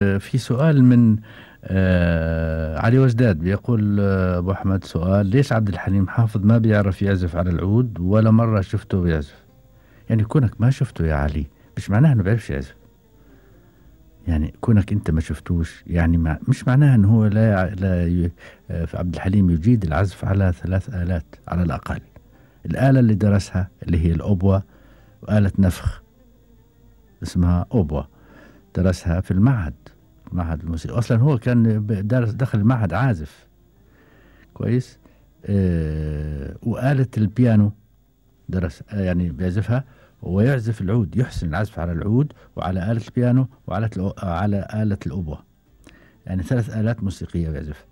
في سؤال من علي وجداد بيقول أبو أحمد سؤال: ليش عبد الحليم حافظ ما بيعرف يعزف على العود ولا مرة شفته بيعزف؟ يعني كونك ما شفته يا علي مش معناها انه بيعرفش يعزف. يعني كونك انت ما شفتوش يعني مش معناها انه هو في عبد الحليم يجيد العزف على 3 آلات على الأقل. الآلة اللي درسها اللي هي الأوبوا، وآلة نفخ اسمها أوبوا درسها في المعهد الموسيقى. أصلا هو كان دخل المعهد عازف كويس. وآلة البيانو درس يعني بيعزفها، ويعزف العود، يحسن العزف على العود وعلى آلة البيانو وعلى على آلة الأوبوا. يعني 3 آلات موسيقية بيعزف.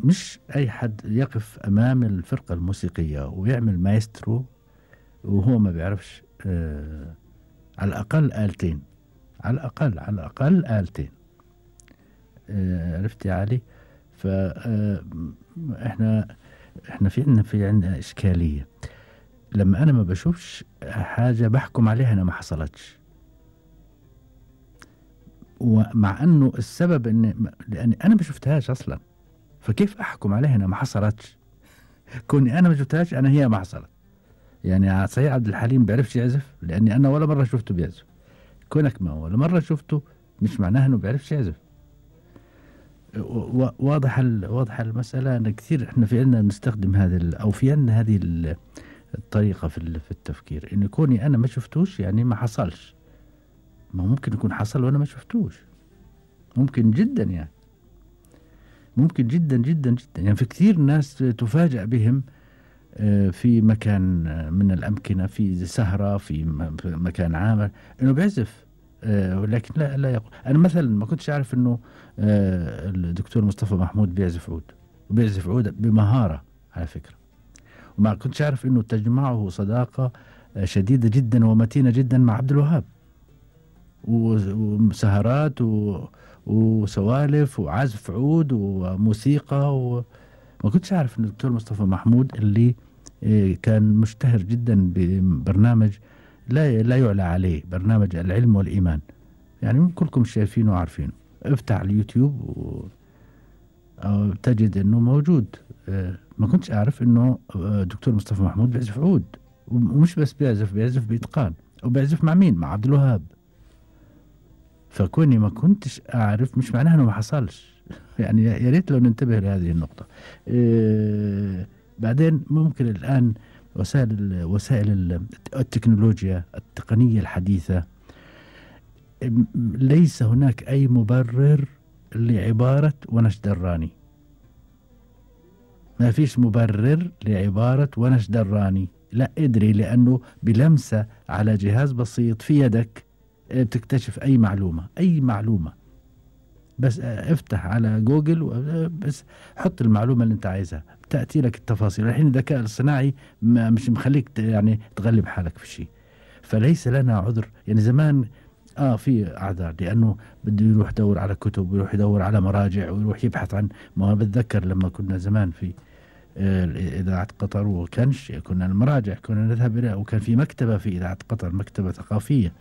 ومش أي حد يقف أمام الفرقة الموسيقية ويعمل مايسترو وهو ما بيعرفش على الأقل آلتين، على الأقل آلتين. عرفت يا علي؟ فإحنا في عندنا إشكالية. لما أنا ما بشوفش حاجة بحكم عليها أنا ما حصلتش، ومع أنه السبب لأني أنا ما شفتهاش أصلا، فكيف أحكم عليها أنا ما حصلتش؟ كوني أنا ما شفتهاش أنا هي ما حصلت. يعني صحيح عبد الحليم بيعرفش يعزف لأني أنا ولا مرة شفته بيعزف. كونك ما ولا مرة شفته مش معناها أنه بيعرفش يعزف. واضح المسألة. أن كثير إحنا في عندنا نستخدم أو في عندنا هذه الطريقة في التفكير، إن كوني أنا ما شفتوش يعني ما حصلش. ما ممكن يكون حصل وأنا ما شفتوش، ممكن جدا، يعني ممكن جدا جدا جدا. يعني في كثير ناس تفاجأ بهم في مكان من الأمكنة، في سهرة، في مكان عام، إنه بيعزف. ولكن لا يقول. أنا مثلا ما كنتش أعرف إنه الدكتور مصطفى محمود بيعزف عود، وبيعزف عود بمهارة على فكرة. وما كنتش أعرف إنه تجمعه صداقة شديدة جدا ومتينة جدا مع عبد الوهاب، وسهرات وسوالف وعزف عود وموسيقى. وما كنتش أعرف إن الدكتور مصطفى محمود اللي كان مشتهر جدا ببرنامج لا يعلى عليه، برنامج العلم والإيمان. يعني كلكم شايفينه وعارفينه. افتح اليوتيوب تجد انه موجود. ما كنتش اعرف انه دكتور مصطفى محمود بيعزف عود، ومش بس بيعزف بإتقان. وبيعزف مع مين؟ مع عبد الوهاب. فكوني ما كنتش اعرف مش معناها انه ما حصلش. يعني يا ريت لو ننتبه لهذه النقطة. بعدين ممكن الآن وسائل التكنولوجيا التقنية الحديثة، ليس هناك أي مبرر لعبارة ونش دراني. ما فيش مبرر لعبارة ونش دراني. لا ادري، لأنه بلمسة على جهاز بسيط في يدك بتكتشف أي معلومة. بس افتح على جوجل بس حط المعلومة اللي انت عايزها، تأتي لك التفاصيل. الحين الذكاء الصناعي مش مخليك يعني تغلب حالك في شيء. فليس لنا عذر. يعني زمان في أعذار، لأنه بده يروح يدور على كتب، ويروح يدور على مراجع، ويروح يبحث عن. ما بتذكر لما كنا زمان في إذاعة قطر وكنش، كنا المراجع كنا نذهب إلى، وكان في مكتبة في إذاعة قطر، مكتبة ثقافية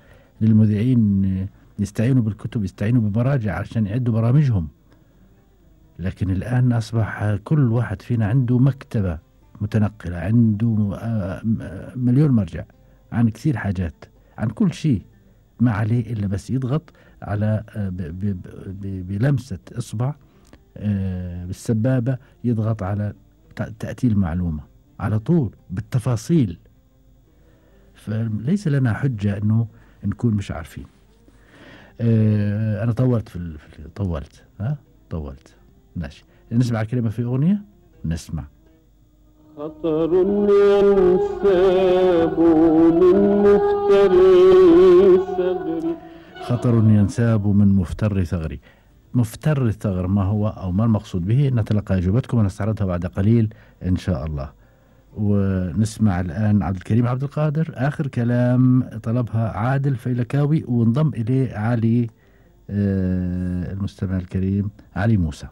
للمذيعين، يستعينوا بالكتب، يستعينوا بمراجع عشان يعدوا برامجهم. لكن الآن أصبح كل واحد فينا عنده مكتبة متنقلة، عنده مليون مرجع عن كثير حاجات، عن كل شيء. ما عليه إلا بس يضغط على بلمسة إصبع بالسبابة، يضغط على تأتي المعلومة على طول بالتفاصيل. فليس لنا حجة أنه نكون مش عارفين. أنا طولت طولت. ماشي، نسمع كلمة في أغنية. نسمع خطر ينساب من مفتر ثغري. خطر ينساب من مفتر ثغري. مفتر الثغر ما هو أو ما المقصود به؟ نتلقى أجوبتكم ونستعرضها بعد قليل إن شاء الله. ونسمع الآن عبد الكريم عبد القادر، آخر كلام طلبها عادل فيلكاوي، وانضم إليه علي المستمع الكريم علي موسى.